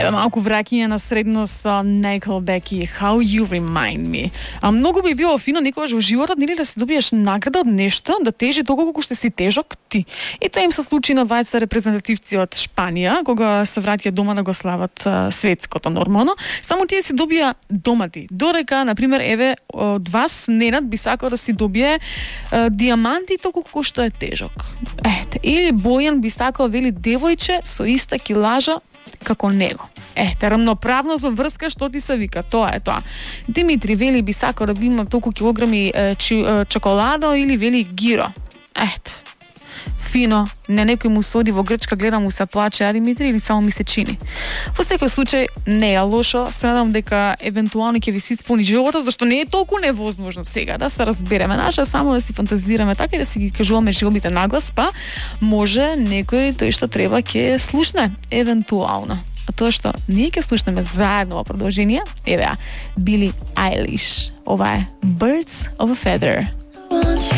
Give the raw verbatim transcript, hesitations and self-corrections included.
Еве малку враќање на средно со Nickelback и How You Remind Me. А многу би било фино некогаш во животот нели да си добиеш награда од нешто, да тежи толку колку што си тежок ти. И тоа им се случи на дваесет репрезентативци од Шпанија, кога се враќаа дома да го слават а, светското нормално. Само тие си добија домати. Дорека, на пример, еве од вас Ненад би сакал да си добие а, диаманти толку колку што е тежок. Ете, или Бојан би сакал вели девојче со иста килажа како него. Ете, рамноправно со врска што ти се вика, тоа е тоа. Димитри вели би сакал да би имал толку килограми е, чи, е, чоколадо или вели гиро. Ете. Фино, не некој му соди во Грчка, гледам му се плаче, а Димитри, или само ми се чини. Во секој случај не е лошо, се надам дека евентуално ќе ви се исполни животот, зашто не е толку невозможно сега да се разбереме. Наша само да си фантазираме така и да си ги кажуваме желбите наглас, па може некој тој што треба ќе слушне евентуално. А тоа што ние ќе слушнеме заедно во продолжение, еве, Били Айлиш. Ова е Birds of a Feather.